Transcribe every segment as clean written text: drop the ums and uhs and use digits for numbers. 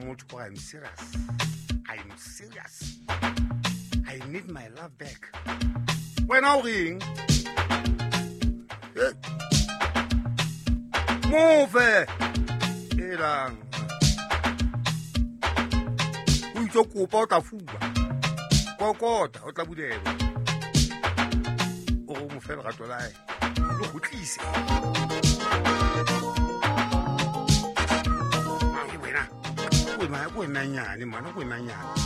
motho gore I'm serious, I'm serious, I need my love back. Wena o reng? Mofe elang o itse kopa o tla fuwa, kokota o tla bulelwa, o re o mo fe lerato la hae le go tlise. Ko nanyane mana, ko nanyane.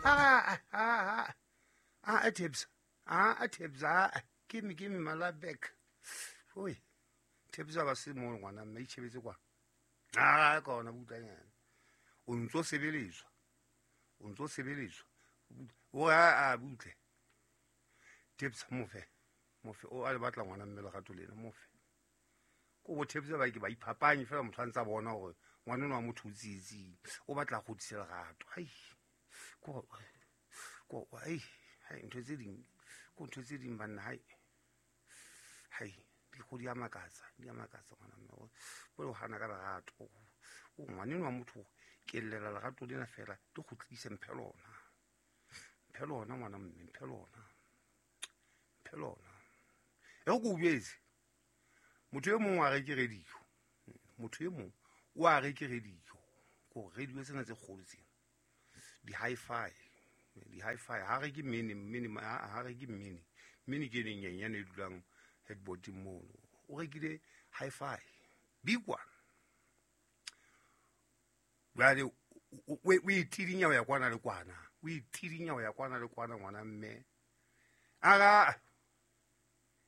Ah ah ah ah tips. Ah tips. Ah give me my love back. Oi. Tips ba se mo ngwana mme itshebetse kwa. Ah ka ona butlanyana. O ntso sebeletswa. O ntso sebeletswa. O a butle. Tips mofe. Mofe o a le batla ngwana mme lerato lena mofe. Ko bo tips ba ke ba iphapanye fela motho a ntsa bona hore ngwana wa motho o tsietsing o batla go tlisa lerato. Ai ko ko ai hai ntho tse ding ko ntho tse ding banna hai hai di go di amakatsa ngwana mme o bo hana ka lerato. O ngwana wa motho ke llela lerato lena fela le go tlisa mphe lona ngwana mme mphe lona e go betse motho e mongwe a reke radio, motho e mongwe o a reke radio, ko radio tsena tse kgolo tsena di hi-fi ha reke mini ha reke mini ke neng nyenyane e dulang headboard mono, o rekile hi-fi big one. Jwale o itidinya ho ya kwana le kwana, o itidinya ho ya kwana le kwana ngwana mme aga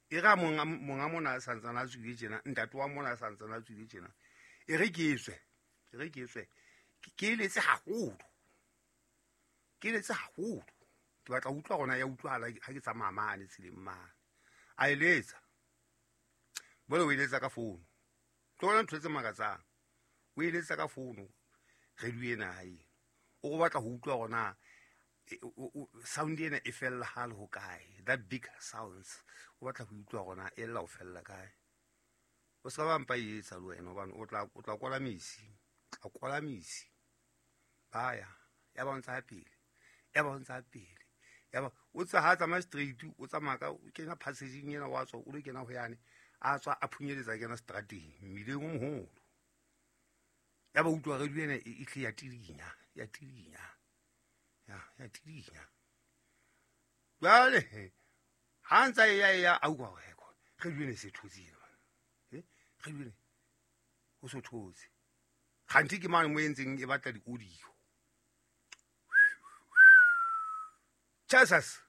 e ga monga mona a santsana a tswile tjena, ntate wa mona a santsana a tswile tjena, e re ke tswe ke eletse haholo ke batla ho utlwa gona ya utlwahala ha ke tsamaya mane tseleng mane. A eletsa bole o eletsa ka founu, tlo ntho tse makatsang, o eletsa ka founu radio ena hae, o go batla ho utlwa gona sound ena e fella ha le ho kae, that big sounds o batla ho utlwa gona e lla ho fella kae. O ska ba mpa e etsa le wena hobane o tla kwala misi, o tla kwala misi. Ba ya ba ntsa pele, ya ba ntsa pele, ya ba o tsa ha tsamaya straight, o tsamaya ka o kena passage-ing ena wa tswa o le kena ho yane, a tswa a phunyeletsa kena strateng mmileng o moholo. Ya ba utlwa radio ena e tle ya tidinya, ya tidinya. Ya tidinya. Jwale ha ntsa ya a utlwa hore radio ena e se thotse ena. Radio ena o so thotse. Kganthi ke mane mo entseng e batla di-audio. Jesus.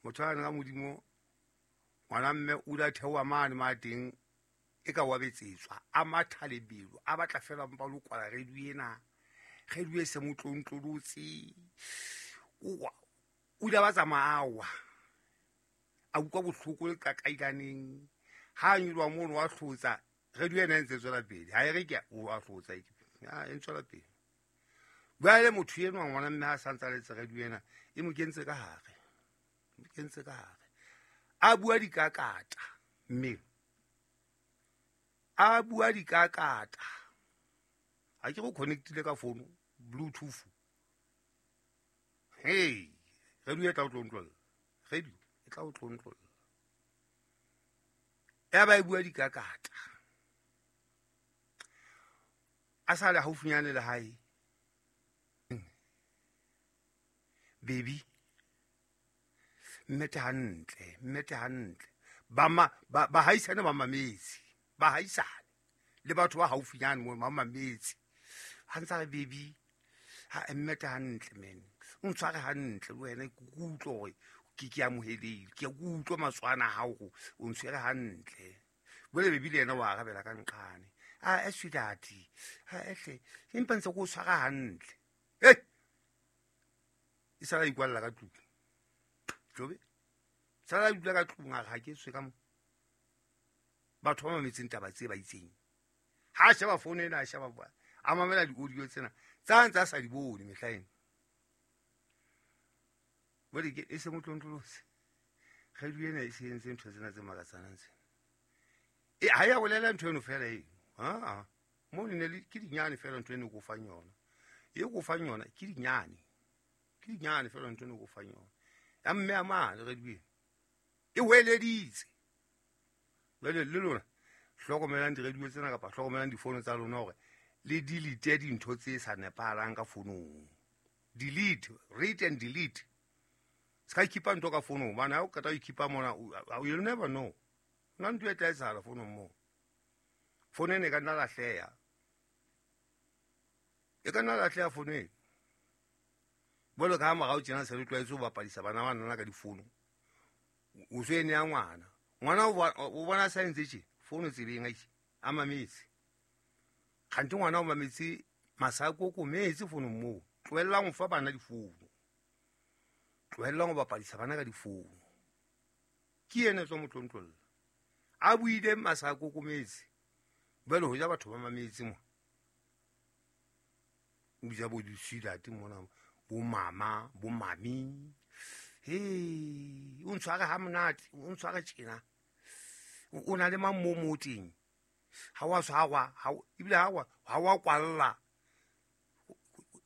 Motho a nka modimo ngwana mme o la theoha mane ma teng e ka wa betsetswa a matha lebelo a batla fela mpa lo kwala radio ena, radio e se mo tlontlolotse. O ile ba tsamaya a utlwa bohloko le kakailaneng ha nyolwa mono wa hlotsa radio ena e ntse tswela pele, ha e re ke o a hlotsa e ntswela pele. Jwale motho enwa ngwana mme ha santsa letse radio ena e mo kentse ka hare, a bua dikakata mme a bua dikakata ha ke go connectile ka phone bluetooth. Hey, radio e tla o tlontlolla, radio e tla o tlontlolla. Ya ba e bua dikakata a sa le haufinyane le hae. Baby mmete hantle ba haisane ba mametse, ba haisane le batho ba haufinyane mo ba mametse ha ntsa re baby ha mmete hantle men, o ntshware hantle le wena ke utlwe hore ke amohelehile, ke utlwe matswana a hao o ntshwere hantle. Bole baby le yena wa arabela ka nqane, a sweetheart ha ehle empa ntse ko tshwara hantle. Hey, e sala ikwalla ka tlung jobe, sala dula ka tlung a re ha ke tswe ka mo. Batho ba mametseng taba tse ba itseng ha sheba phone ena, a sheba a mamela di-audio tsena tsa ntse a sa di bone mehla ena. Bole ke e se mo tlontlolotse radio ena e se entse ntho tsena tse makatsanang tsena. E ha ya bolela ntho eno fela e. Mo ne le ke dinyane fela ntho ene ko fang yona. E ko fang yona ke dinyane. Ke dinyane fela ntho ene ko fang yona. Ya mme a mane radio eno. E hweleditse. Jwale le lona hlokomelang di-radio tsena kapa hlokomelang difono tsa lona hore le delete dintho tse sa nepahalang ka fonong. Delete, read and delete. Se ka keepa ntho ka fonong hobane ha o qeta ho keepa mona you'll never know. Nna ntho e tla etsahala fonong moo. Fono ena e ka nna lahleha. E ka nna lahleha fono ena. Jwalo ka ha morao tjena se re tlwaetse ho bapadisa bana ba nana ka difono. O so e neya ngwana. Ngwana o bona sa entse tje, fono tseleng a a mametse. Kgante ngwana o mametse masako kometse fonong moo. Tlohellang ho fa bana difono. Tlohellang ho bapadisa bana ka difono. Ke yena tswa motlontlolla. A buile masako kometse. Jwale ho ja batho ba mametse mo. O bitsa bo disidate mona, bo mama, bo mami. He, o ntshware ha monate, o ntshware tjena. O na le mang mo mo teng? Ha wa tshwarwa, ha ebile ha wa kwalla.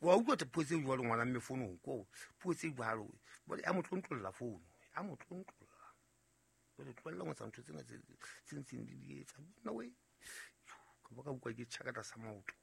Wa utlwa puo tse jwalo ngwana mme fonong ko puo tse jwalo. Jwale a mo tlontlolla fono, a mo tlontlolla. Jwale tlohella ho etsa ntho tsena tse ntseng di etsa. Nna we, ka ba ka utlwa ke tjha ka tlasa maoto.